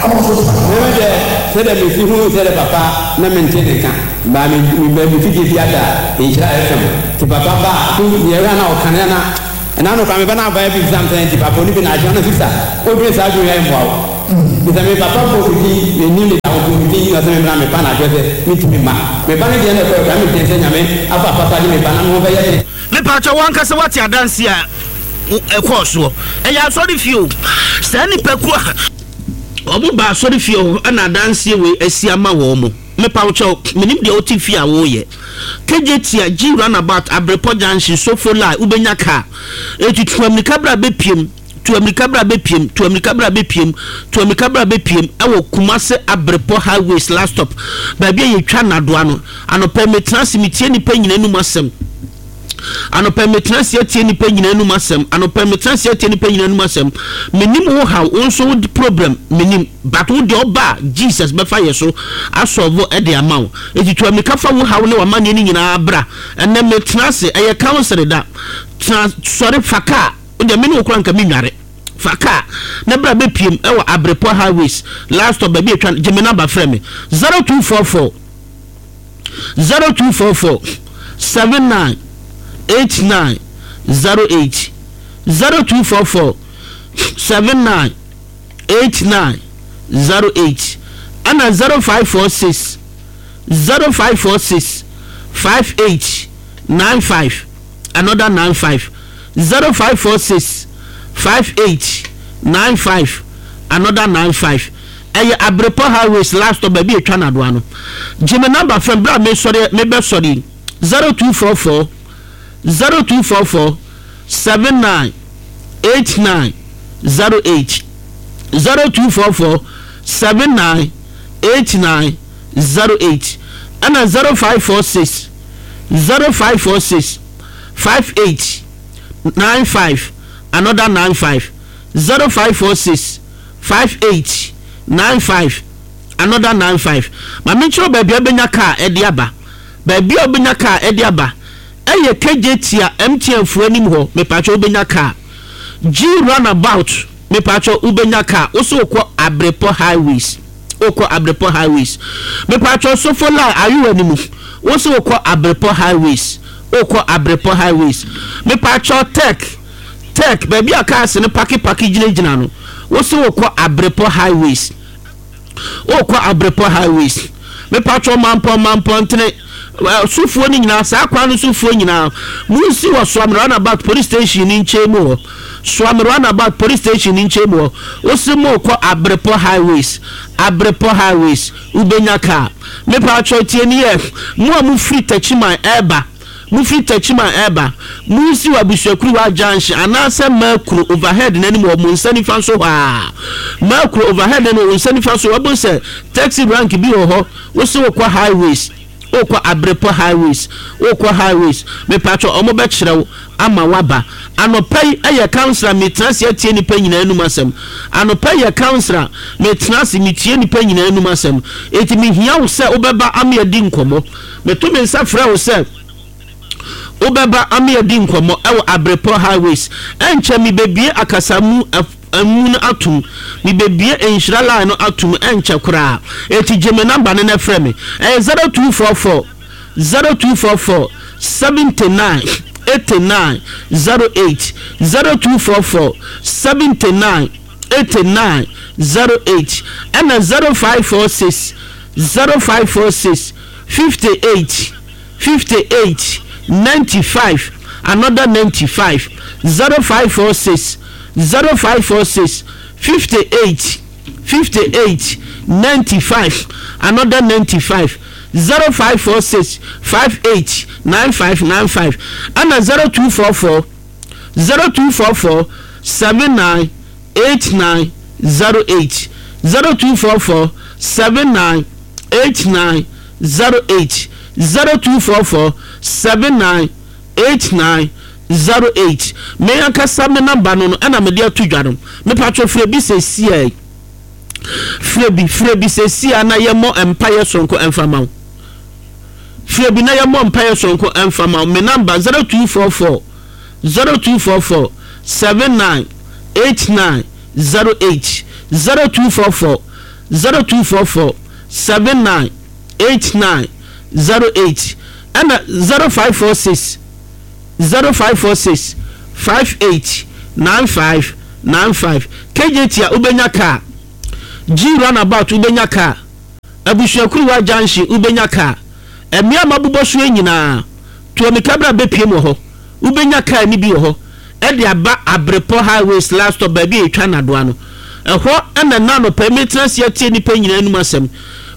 Me deɛ, sɛdeɛ mesi hunu sɛdeɛ papa na mente ne nka, baa me me ba me fidie bi ada Nhyira FM, nti papa ba a, so deɛ ɛyɛ a na ɔka no yɛ na ɛna no koraa me ba no aba bi bisa me sɛ nti papa ɔni bi na akyerɛ na sista wodwene saa adwene yi a ɛmmoa wo, nti sɛ me papa bɔ me din mennim ne da ɔbɔ me din na ɔsɛ me mmra me ba na akyerɛ sɛ mentumi mma me ba no deɛ na ɛkɔɛ koraa medwene sɛ Nyame afa papa de me ba na me ho bɛyɛ den. Mepakyɛw, w'ankasa woate adanse a ɛkɔɔ soɔ? Ɛyɛ asɔrefie o. Saa nnipakuo a wɔn ba asɔrefie hɔ na adanseɛ wei asi ama wɔn. Mepawokyɛw, menim deɛ wote fie a woreyɛ. Kejetia, G runabout, Abrepɔ junction, Sofo line, wobɛnya kaa. Enti tu ammirika bra bɛpiem, tu ammirika bra bɛpiem, tu ammirika bra bɛpiem, tu ammirika bra bɛpiem ɛwɔ Kumase Abrepɔ highways last stop, baabi a yɛtwa nnadoa no. Anɔpa yi metena ase metie nnipa nyinaa anum asɛm. Anɔpa yi metena ase atie nnipa nyinaa anum asɛm. Anɔpa yi metena ase atie nnipa nyinaa anum asɛm. Menim wo haw, wo nso wo problem menim. But wo deɛ ɔba a Jesus bɛfa yɛ so asɔlvo de ama wo. Eti tu amika fa wo haw ne w'amanneɛ no nyinaa bra. Ɛnɛ metena ase, ɛyɛ council da. Tena sɔre fa kaa. Wo deɛ me ne wo koraa nka menware. Fa kaa na bra bɛpiem ɛwɔ Abrepɔ highways last stop baabi atwa gye me number frɛ me 0244 0244 79 89 08 0244 79 89 08 ɛna 0546 0546 58 95 another 95 0546 58 95 another 95 Ɛyɛ Abrepɔ highways last stop baabi a etwa nadoa no. Gye me number frɛ me bere a mesɔre mebɛsɔre yi 0244 0244 79 89 08 0244 79 89 08 ɛna 0546 0546 58 95 another 95 0546 58 95 another 95 Ma menkyerɛ wo baabi a wobɛnya kaa ɛde aba. Baabi a wobɛnya kaa ɛde aba ɛyɛ Kejetia MTN foɔ anim hɔ, mepakyɛ wobɛnya kaa. G runabout, mepakyɛ wobɛnya kaa. Wo se wokɔ Abrepɔ highways, wokɔ Abrepɔ highways. Mepakyɛ Sofo line Ayowa no mu, wo se wokɔ Abrepɔ highways, wokɔ Abrepɔ highways. Mepakyɛ Tech, Tech, baabi a cars no pake pake gyinagyina no, wo se wokɔ Abrepɔ highways. Wokɔ Abrepɔ highways. Mepatwɔ Mampɔn Mampɔntene sofoɔ no nyinaa, saa kwan no sofoɔ nyinaa, monsi wɔ Suame Runabout police station no nkyɛn mu hɔ. Suame Runabout police station no nkyɛn mu hɔ. Wose mokɔ Abrepɔ highways, Abrepɔ highways, wobɛnya kaa. Mepatwɔ tie ni yɛ, mo a mofiri Takyiman ɛɛba, Mofiri Techiman reba, monsi wɔ Abusuakuruwa junction anaasɛ Makuro overhead no anim wɔ mo nsa nifa so hɔ ara. Makuro overhead no anim wɔ wo nsa nifa so, wobɛhu sɛ taxi rank bi wɔ hɔ, wose wokɔ highways, wokɔ Abrepɔ highways, wokɔ highways, mepatwɔ wɔn bɛkyerɛ wo ama woaba. Anɔpa yi yɛ council a metena ase atie nnipa nyinaa anum asɛm. Anɔpa yi yɛ council a metena ase metie nnipa nyinaa anum asɛm. Enti mehia wo sɛ wobɛba ama yɛadi nkɔmmɔ. Meto me nsa frɛ wo sɛ wobɛba ama yɛadi nkɔmmɔ wɔ Abrepɔ Highways. Ɛnkyɛ mebɛbue akasamu mu no atom. Mebɛbue nhyira line no atom ɛnkyɛ koraa. Enti gye me number no na frɛ me. Ɛyɛ 0244 0244 79 89 08 0244 79 89 08 ɛna 0546 0546 58 58 95 another 95 0546 0546 58 58 95 another 95 0546 58 95 95 ɛna 0244 0244 79 89 08 0244 79 89 08 0244 79 89 08 Me ankasa me number no no ɛna mede ato dwa no. Mepatwo frɛ bi sɛsiai. Frɛ bi, frɛ bi sɛsiai na yɛmmɔ mpaeɛ sononko ɛmfa ma wo. Frɛ bi na yɛmmɔ mpaeɛ sononko ɛmfa ma wo. Me number 0244 0244 79 89 08 0244. 0244 79 89 08 ɛna 0546 0546 58 95 95 KJT a wobɛnya kaa G runabout wobɛnya kaa Abusuakuruwa junction wobɛnya kaa Mmea a mabobɔ so yi nyinaa Tuamika bra bɛpiem wɔ hɔ Wobɛnya kaa no bi wɔ hɔ de aba Abrepɔ Highways last stop baabi a yɛtwa nnadoa no. Ɛhɔ na nnɛ anɔpa yi metena ase atie nnipa nyinaa anom asɛm.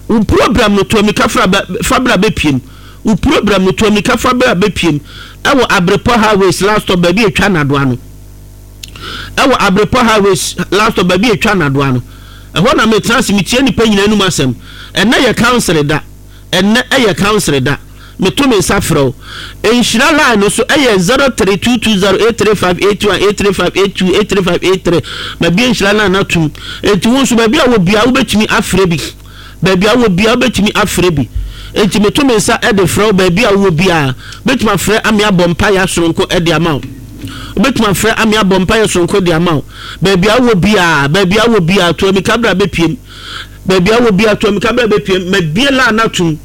Wo program no, tu ammirika fra bɛ, fa bra bɛpiem. Wo program no, tu ammirika fa bra bɛpiem ɛwɔ Abrepɔ Highways last stop baabi a yɛtwa nnadoa no. Ɛwɔ Abrepɔ Highways last stop baabi a yɛtwa nnadoa no. Ɛhɔ na metena ase metie nnipa nyinaa anom asɛm. Ɛnnɛ yɛ council da. Ɛnnɛ yɛ council da. Meto me nsa frɛ wo. Nhyira line no so yɛ 03220 835 81 835 82 835 83. Mabue nhyira line no atom. Enti wo nso baabi a wɔ biara wobɛtumi afrɛ bi. Baabi a wɔ biara wobɛtumi afrɛ bi. Enti meto me nsa de frɛ wo baabi a wowɔ biara. Wobɛtumi afrɛ ame abɔ mpaeɛ asononko de ama wo. Wobɛtumi afrɛ ame abɔ mpaeɛ sononko de ama wo. Baabi a wowɔ biara, baabi a wowɔ biara, to amika bra bɛpiem. Baabi a wowɔ biara, to amika bra bɛpiem. Mabue line no atom.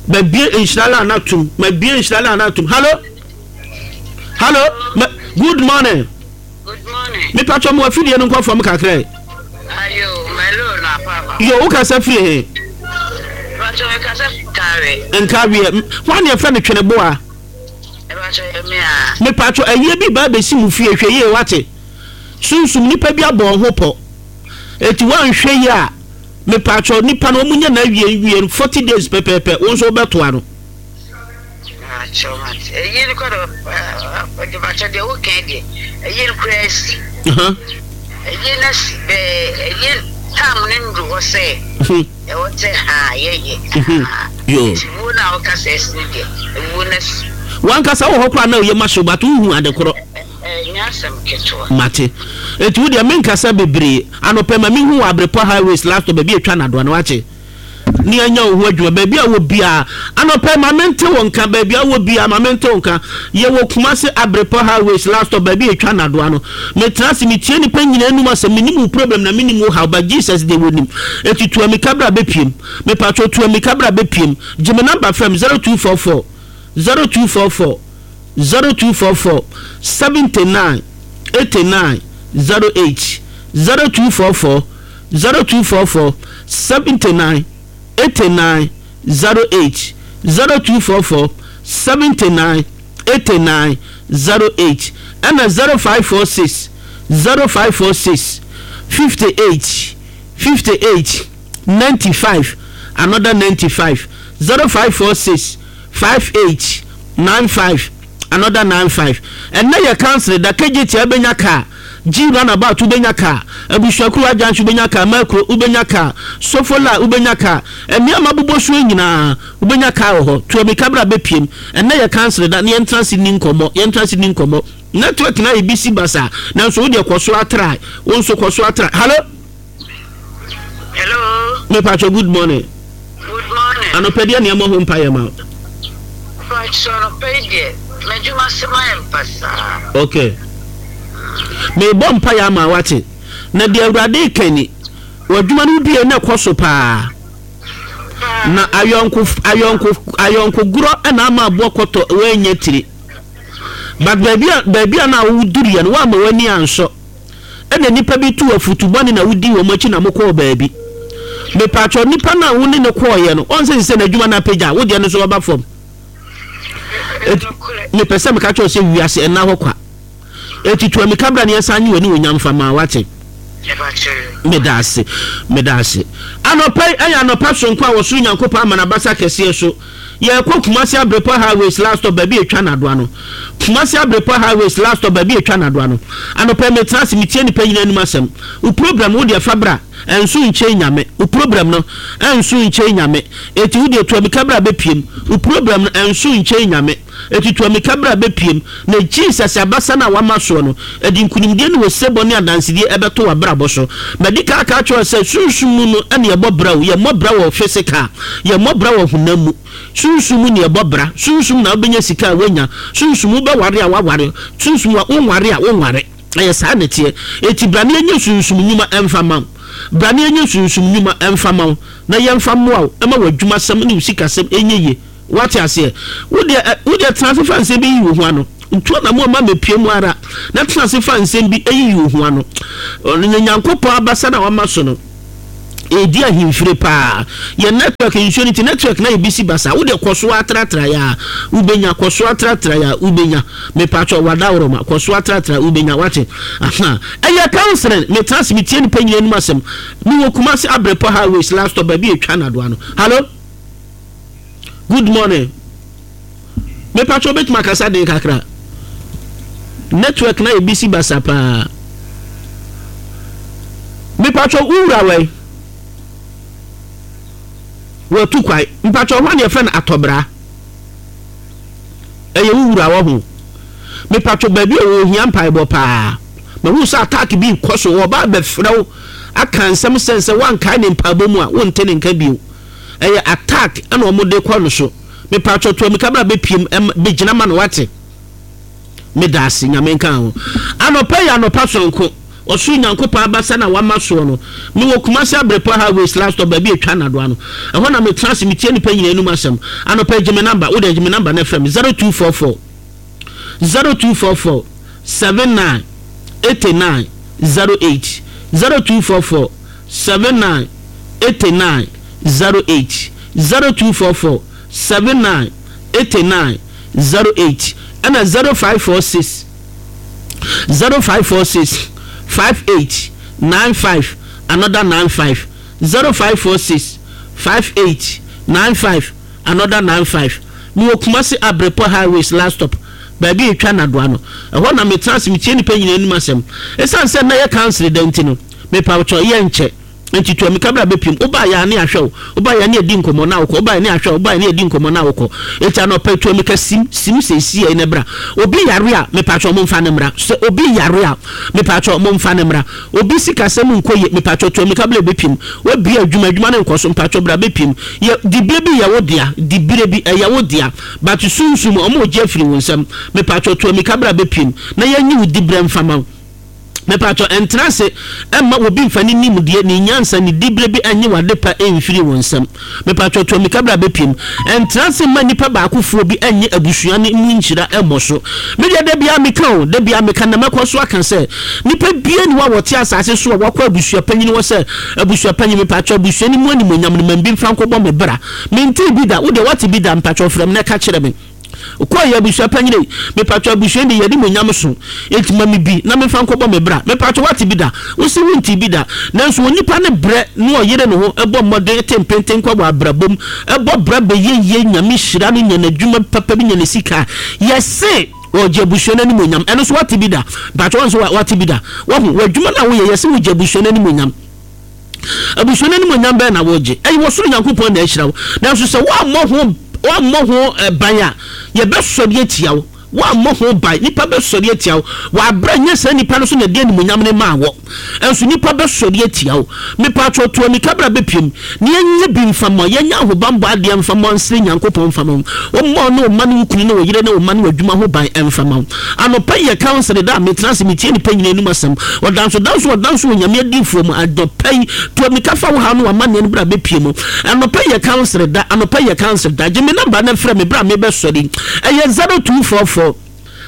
Mabue nhyira line no atom. Mabue nhyira line no atom. Hello? Hello? Ma, good morning. Good morning. Me patro mo afidie no nkɔ fam kakra yi. Ayo, melo na papa. Yo, wo kasa firi he? Patro me kasa firi Nkawe. Nkawe. Hwan ne yɛfrɛ no Tweneboa? Patro yɛ me a. Me patro ayie bi ba abɛsi mo fie hwɛ yie wate. Sunsum nipa bi abɔ ho pɔ. Eti woanhwɛ yie a Mepakyɛw nipa no ɔmo nya n'awie nwie no 40 days pɛpɛɛpɛ wo nso wobɛtoa no. Mepakyɛw mate ɛyi no kɔ do mepakyɛw deɛ woka yi deɛ ɛyi no koraa asi ɛyi no asi bɛɛ ɛyi tam no ndu hɔ sɛ ɛwɔ sɛ ha yɛyɛ nti wuo no a woka sɛ asi no deɛ ɛwuo no asi. Wankasa wɔ hɔ koraa na oyɛ ma so but wohu ade korɔ. Ɛnyɛ asɛm ketewa. Mate. Enti wo deɛ menkasa bebree. Anɔpa yi ma menhu wɔ Abrepɔ Highways last stop baabi a ɛtwa nnadoa no wakye. Ne anya wo ho adwuma baabi a wɔ biara. Anɔpa yi ma mente wo nka baabi a wɔ biara ma mente wo nka. Yɛwɔ Kumasi Abrepɔ Highways last stop baabi a ɛtwa nnadoa no. Metena ase metie nnipa nyinaa anum asɛm. Menim wo problem na menim wo haw but Jesus deɛ wɔnim. Enti tu amika bra bɛpiem. Mepatwɔ tu amika bra bɛpiem. Gye me number frɛ me 0244 0244. 0244 79 89 08 0244 0244 79 89 08 0244 79 89 08 ɛna 0546 0546 58 58 95 another 95 0546 58 95 another 95 Ɛnnɛ yɛ council da Kejetia wobɛnya car G runabout wobɛnya car Abusuakuo Agyanhye wobɛnya car Makuro wobɛnya car Sofola wobɛnya car Nneɛma bobɔ soɔ nyinaa wobɛnya car wɔ hɔ Tua mika bra bɛpiem Ɛnnɛ yɛ council da na yɛntena ase nni nkɔmmɔ Yɛntena ase nni nkɔmmɔ Network no ayɛ busy basaa Nanso wo deɛ kɔ so ara try Wo nso kɔ so ara try Hallo Hello. Me pacho good morning. Good morning. Anɔpɛ deɛ nneɛma ho mpa yɛ ma. Pacho anɔpɛ yi deɛ m'adwuma se ma yɛ mpa saa. Okay. Mebɔ mpa yɛ ama wate. Na deɛ awurade ka ni w'adwuma no wodue na ɛkɔ so paa. Na ayɔnko ayɔnko ayɔnko gorɔ na ama aboɔ kɔtɔ wɔanya tiri. But baabi a baabi a na woduru yɛ no woama w'ani ansɔ. Ɛna nnipa bi tuu afutu bɔne na wodii wɔn akyi na mokɔɔ baabi. Mepakyɛw, nipa no a wo ne no kɔɔeɛ no, ɔn sɛ sɛ n'adwuma no apagya, wo deɛ no nso ɔba fam. Eti, mepɛ sɛ meka kyerɛ wo sɛ wiase ɛnna hɔ kwa. Eti tu amika bra na yɛnsan nye w'aniwonyam mfa ma, wate? Meda ase, meda ase. Anɔpa yi ɛyɛ anɔpa soronko a ɔsoro Nyankopɔn ama n'abasa kɛseɛ so. Yɛrekɔ Kumasi Abrepɔ Highways last stop baabi a ɛtwa nnadoa no. Kumasi Abrepɔ Highways last stop baabi a ɛtwa nnadoa no. Anɔpa yi metena ase metie nnipa nyinaa anim asɛm. Wo program no wo deɛ fa bra, ɛnso nkyɛn Nyame. Wo program no ɛnso nkyɛn Nyame. Eti wo deɛ tu amika bra bɛpiem. Wo program no ɛnso nkyɛn Nyame. Eti tu amika bra bɛpiem. Na Jesus abasa no a wama soɔ no, ɛde nkunimdie ne osebɔ ne adansedie ɛbɛto w'abrabɔ so. Madi kan aka akyerɛ wo sɛ, sunsum mu no na yɛbɔ bra o, yɛmmɔ bra wɔ physical, yɛmmɔ bra wɔ honam mu. Sunsum mu na yɛbɔ bra. Sunsum na wobɛnya sika a woanya, sunsum wobɛware a woaware, sunsum wonware a wonware. Ɛyɛ saa na ɛteɛ. Enti bra na yɛnyɛ sunsum nnwuma mfa mma wo. Bra na yɛnyɛ sunsum nnwuma mfa ma wo, na yɛmfa mmoa wo ma w'adwumasɛm ne wo sikasɛm nyɛ yie. Woate aseɛ? Wo deɛ ɛ, wo deɛ tena ase fa nsɛm bi yiyi wo ho ano. Ntu anammɔn mma mmɛpue mu ara, na tena ase fa nsɛm bi yiyi wo ho ano. Ɔno ne Nyankopɔn abasa no a wama so no. Ɛredi ahemfire paa. Yɛn network nsuo no nti network no ayɛ bisi basaa. Wo deɛ kɔ so ara tratra yɛ a wobɛnya. Kɔ so ara tratra yɛ a wobɛnya. Mepakyɛw wadaworoma. Kɔ so ara tratra wobɛnya. Wate? Aha. Ɛyɛ counseling. Metena ase metie nnipa nyinaa anim asɛm. Mewɔ Kumasi Abrepɔ highways last stop baabi a ɛtwa nnadoa no. Hallo? Good morning. Mepakyɛw wobɛtumi akasa den kakra? Network na yɛ bisi basa paa. Mepakyɛw wo wura wɛn? Watu kwan. Mepakyɛw hwan na yɛfrɛ no atɔbra? Ɛyɛ wo wura wɔ ho. Mepakyɛw baabi a ɔwɔ ohia mpaebɔ paa. Mahu sɛ attack bi rekɔ so, ɔba abɛfrɛ wo aka nsɛm sɛn sɛ woankae ne mpaebɔ mu a wonte ne nka bio. Ɛyɛ attack ɛna ɔmo de kɔ no so. Mepaatwɔ to amika bra bɛpiem ɛma bɛgyina ma no wate. Medaase Nyame nka ho. Anɔpa yi anɔpa sononko ɔsoro Nyankopɔn abasa na wama soɔ no. Mewɔ Kumasi Abrepɔ highways last stop baabi a ɛtwa nnadoa no. Ɛhɔ na metena ase metie nnipa nyinaa anum asɛm. Anɔpa yi gye me number, wodeɛ gye me number na frɛ me 0244 0244 79 89 08 0244 79 89 08 0244 79 89 08 ɛna 0546 0546 58 95 another 95 0546 58 95 another 95. Mewɔ Kumasi Abrepɔ Highways last stop baabi a ɛtwa nnadoa no. Ɛhɔ na metena ase metie nnipa nyinaa anim asɛm. Ɛsiane sɛ nnɛ yɛ council da nti no, mepawokyɛw, yɛnkyɛ. Enti tu amika bra bɛpiem. Wobaa yɛ a ne yɛahwɛ wo. Wobaa yɛ a ne yɛadi nkɔmmɔ na wokɔ. Wobaa yɛ ne yɛahwɛ wo. Wobaa yɛ ne yɛadi nkɔmmɔ na wokɔ. Enti anɔpa yi tu amika sim, sim seesei na bra. Obi yare a, mepawokyɛw momfa no mmra. Sɛ obi yare a, mepawokyɛw momfa no mmra. Obi sikasɛm nkɔ yie, mepawokyɛw tu amika bra bɛpiem. Woabue adwuma, adwuma no nkɔ so, mepawokyɛw bra bɛpiem. Yɛ, dibere bi yɛ wo dea, dibere bi, ɛyɛ wo dea. But sunsum, wɔregye afiri wo nsam. Mepawokyɛw tu amika bra bɛpiem na yɛnyi wo diberɛ mfa ma wo. Mepaatɔ, ɛntena ase mma obi mfa ne nimdeɛ, ne nyansa, ne diberɛ bi nnye w'adepa mfiri wo nsam. Mepaatɔ, tu amika bra bɛpiem. Ɛntena ase mma nnipa baakofoɔ bi nnye abusua no mu nhyira mmɔ so. Me deɛ da biara meka o, da biara meka na mɛkɔ so aka sɛ, nnipa biara nni hɔ a wɔte asase so a wakɔ abusua panyin hɔ sɛ, Abusua panyin, mepaatɔ abusua no mu animuonyam no ma me bi mfa nkɔbɔ me bra. Mentee bi da, wo deɛ woate bi da? Mepaatɔ frɛ me na ka kyerɛ me. Kɔ yɛ abusua panyin ei. Mepatwɔ abusua yi de yɛde mo nyam so enti ma me bi na memfa nkɔbɔ me bra. Mepatwɔ woate bi da? Wose wontee bi da. Nanso onipa no brɛ na ɔyere ne ho bɔ mmɔden te mpentenkwa wɔ abrabɔ mu, bɔ bra bɛyɛ yie, Nyame hyira no, nya n'adwuma papa bi, nya ne sika a, yɛse ɔregye abusua no animuonyam. Ɛno nso woate bi da? Mepatwɔ wo nso woate bi da? Wahu, w'adwuma no a woyɛ, yɛse wogye abusua no animuonyam. Abusua no animuonyam bɛn na wogye? Ɛyɛ wɔ soro Nyankopɔn na ahyira wo. Nanso sɛ woammɔ ho woammɔ ho eh, ban a, yɛbɛsɔre atia wo. Woammɔ ho ban, nnipa bɛsɔre atia wo. W'abrɛ nyɛ saa nnipa no so na ɛde animuonyam no maa wɔ. Nso nnipa bɛsɔre atia wo. Mepatwɔ to amika bra bɛpiem na yɛnyɛ bi mfa ma, yɛnyɛ ahobammɔ adeɛ mfa ma, nsrɛ Nyankopɔn mfa ma wo. Ɔmmɔ wo ne wo mma ne wo kunu ne wo yere ne wo mma ne w'adwuma ho ban mfa ma wo. Anɔpa yi yɛ council da a metena ase metie nnipa nyinaa anom asɛm. Ɔdanso danso ɔdanso wɔ Nyame adiyifoɔ mu. Anɔpa yi, tu amika fa wo haw ne w'amanneɛ no bra bɛpue mu. Anɔpa yi yɛ council da, anɔpa yi yɛ council da. Gye me number na frɛ me berɛ a mebɛsɔre yi. Ɛyɛ 0244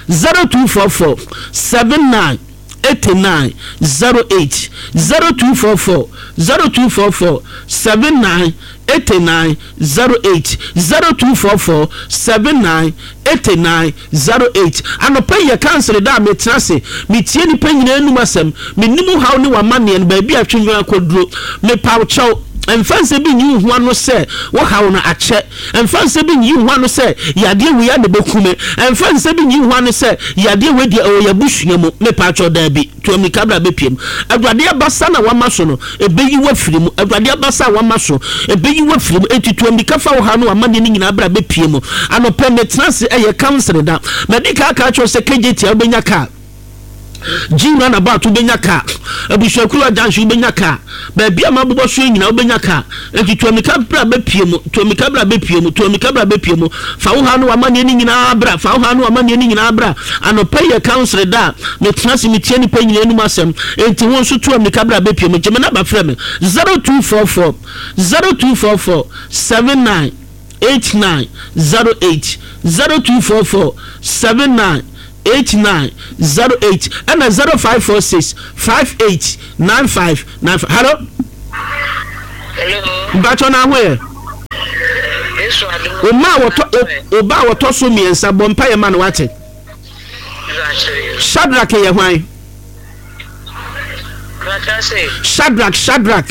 0244 79 89 08 0244 0244 79 89 08 0244 79 89 08 Anɔpa yi yɛ kansere da a metena ase metie nnipa nyinaa anum asɛm. Mennim wo haw ne w'amanneɛ no, baabi a twendwen akɔduro. Mepa wo kyɛw, mfa nsɛm bi nyi wo ho ano sɛ wo haw no akyɛ. Mfa nsɛm bi nyi wo ho ano sɛ yadeɛ wei ara na ɛbɛku me. Mfa nsɛm bi nyi wo ho ano sɛ yadeɛ wei deɛ ɛwɔ yɛn abusua mu. Mepa wo kyɛw, daabi. Tu ammirika bra bɛpiem. Awurade abasa na wama so no, ɛbɛyi wo afiri mu. Awurade abasa a wama so, ɛbɛyi wo afiri mu. Enti tu ammirika fa wo haw ne w'amanneɛ no nyinaa bra bɛpie mu. Anɔpa yi, metena ase, ɛyɛ counseling da. Madi kan aka akyerɛ wo sɛ KJT a wobɛnya kaa. Gye run about wobɛnya car. Abusuakuruwa junction wobɛnya car. Baabi a mabobɔ so yi nyinaa wobɛnya car. Enti tu amika bra bɛpue mu, tu amika bra bɛpue mu, tu amika bra bɛpue mu. Fa wo haw ne w'amanneɛ no nyinaa bra, fa wo haw ne w'amanneɛ no nyinaa bra. Anɔpa yi yɛ council da a metena ase metie nnipa nyinaa anom asɛm. Enti wo nso tu amika bra bɛpue mu. Gye me naba frɛ me, 0244 0244 79 89 08 0244 79 89 08 ɛna 0546 58 95 95. Hello. Hello. Mpatsɔ na ho yɛ. Yesu adum. Ɔma a wɔtɔ ɔba a wɔtɔ so mmiɛnsa bɔ mpa yɛ ma no wate. Shadrach yɛ hwan? Shadrach Shadrach.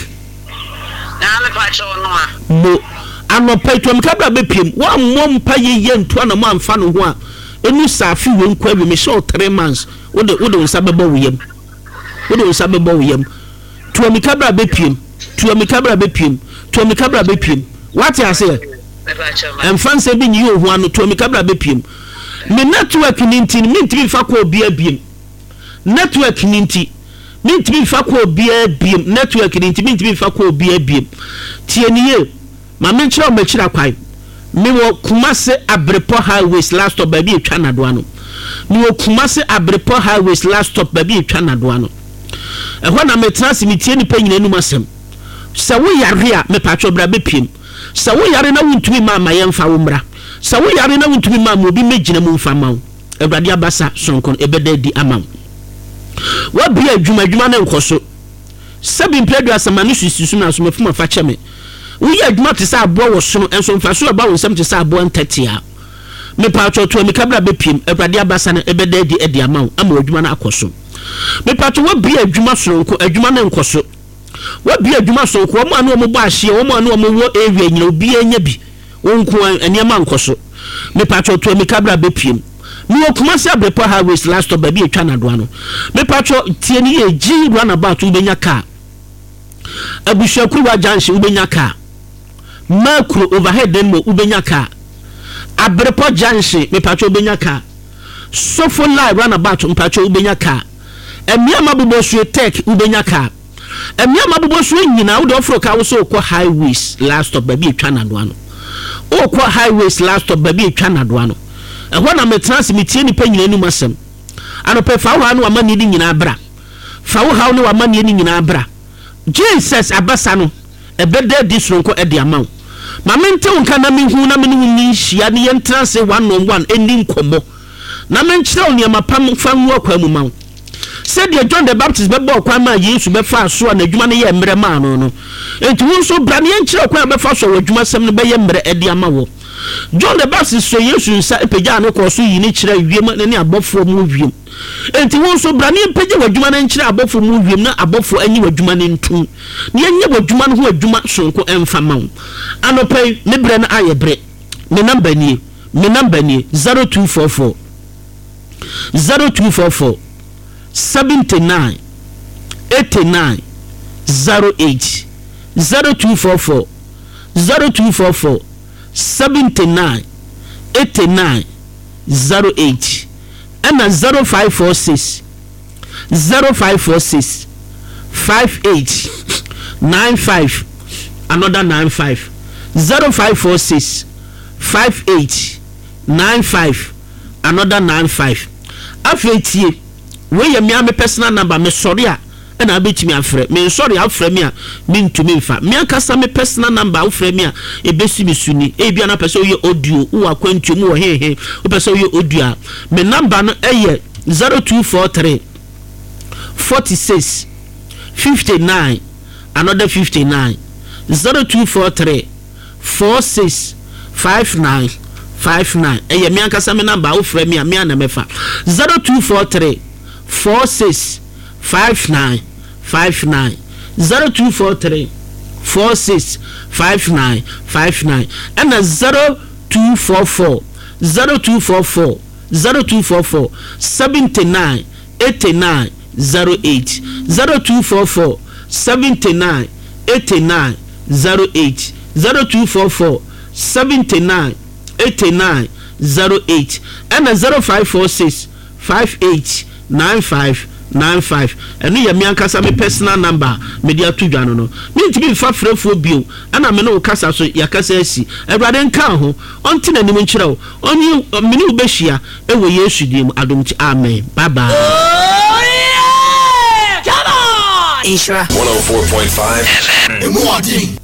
Mo anɔpa yi tuamika bra bɛpiem woammɔ mpa yɛyɛ ntu ana mo amfa no ho a ɛnu saa afe wei nkɔ awie mehyɛ wo 3 months wode wode wo nsa bɛbɔ wo yam wode wo nsa bɛbɔ wo yam tuamika bra bɛpiem tuamika bra bɛpiem tuamika bra bɛpiem wate aseɛ ɛmfa nsɛm bi nyiyi ohu ano tuamika bra bɛpiem me network ni nti mentumi mfa kɔ obi abiem network ni nti mentumi mfa kɔ obiara biem network ni nti mentumi mfa kɔ obiara biem tie ni yie ma menkyerɛ wo m'akyiri akwan. Mewɔ Kumase Abrepɔ Highways last stop baabi etwa nadoa no. Mewɔ Kumase Abrepɔ Highways last stop baabi etwa nadoa no. Ɛhɔ na metena ase metie nipa nyinaa anum asɛm. Sɛ wo yare a mepatwɔ bra bɛpiem. Sɛ wo yare na wontumi mma ma yɛmfa wo mmra. Sɛ wo yare na wontumi mma ma obi mmɛgyina mu mfa ma wo. Awurade abasa sononko no ɛbɛda adi ama wo. Woabue adwuma, adwuma no nkɔ so. Sɛbi mpɛ 30 ma no sisi so na so mafum afa kyɛ me. Woyɛ adwuma te sɛ aboa wɔ sono nso mfaso ɛba wo nsam te sɛ aboa ntatea. Mepatwɔ to amika bra bɛpiem, Awurade abasa no ɛbɛda adi ɛde ama wo ama w'adwuma no akɔ so. Mepatwɔ woabue adwuma sononko, adwuma no nkɔ so. Woabue adwuma sononko, wɔn a ne wɔn bɔ ahyeɛ, wɔn a ne wɔn wɔ area nyina obiara nya bi. Wo nko ara nneɛma nkɔ so. Mepatwɔ to amika bra bɛpiem. Mewɔ Kumasi Abrepɔ Highways last stop baabi a ɛtwa Nadoa no. Mepatwɔ tie no yie, Gyi runabout wobɛnya car. Abusuakuruwa junction wobɛnya car. Makuro overhead demo wobɛnya car. Abrepɔ junction mepatwɔ wobɛnya car. Sofo line runabout mpatwɔ wobɛnya car. Ɛmea Mabobɔsue Tech wobɛnya car. Mmea a mabobɔ so nyinaa, wode ɔforo kaa wo sɛ wokɔ highways last stop baabi etwa nadoa no. Wokɔ highways last stop baabi etwa nadoa no. Ɛhɔ na metena ase metie nnipa nyinaa anim asɛm. Anɔpɛ fa wo haw ne w'amanneɛ no nyinaa bra. Fa wo haw ne w'amanneɛ no nyinaa bra. Jesus abasa no, ɛbɛda adi soronko de ama wo. Ma mente wo nka na menhu na me ne wo nni nhyia ne yɛntena ase one on one nni nkɔmmɔ. Na menkyerɛ wo nneɛma pa mfa ngu akwan mu ma wo. Sɛdeɛ John the Baptist bɛbɔɔ kwan maa Yesu bɛfaa so a n'adwuma no yɛɛ mmerɛ maa no no, enti wo nso bra na yɛnkyerɛ wo kwan a wobɛfa so a w'adwumasɛm no bɛyɛ mmerɛ de ama wo. John the Baptist sɔɔ Yesu nsa pagyaa no kɔɔ so yii no kyerɛɛ wiem ne abɔfoɔ mu wiem. Enti wo nso bra na yɛmpagya w'adwuma no nkyerɛ abɔfoɔ mu wiem na abɔfoɔ anyi w'adwuma no ntom na yɛnyɛ w'adwuma no ho adwuma sononko mfa ma wo. Anɔpa yi, me berɛ no ayɛ berɛ. Me number nie, me number nie, 0244. 0244 79 89 08 0244 0244 79 89 08 ɛna 0546 0546 58 95 another 95 0546 58 95 another 95 Afei tie, wei yɛ me ara me personal number, mesɔre a ɛna wobɛtumi afrɛ, mensɔre a wofrɛ me a mentumi mfa. Me ankasa me personal number a wofrɛ me a ɛbɛsi me so ni. Ebia na wopɛ sɛ woyɛ audio, wowɔ akwantuo mu wɔ hehe, wopɛ sɛ woyɛ audio a, me number no ɛyɛ 0243 46 59 another 59 0243 46 59 59 ɛyɛ me ankasa me number a wofrɛ me a me a na mɛfa 0243 46 59 59 0243 46 59 59 ɛna 0244 0244 0244 79 89 08 0244 79 89 08 0244 79 89 08 ɛna 0546 58 95. 95. Ɛno yɛ me ankasa me personal number a mede ato dwa no no. Mentumi mfa frɛfoɔ bio, ɛna me ne wo kasa so, yɛakasa asi. Awurade nka wo ho, Ɔnte n'anim nkyerɛ wo, Ɔnye, me ne wo bɛhyia wɔ Yesu din mu, adom nti, amen. Bye bye. Oh yeah! Come on! Nhyira. 104.5 FM. Emu ɔden.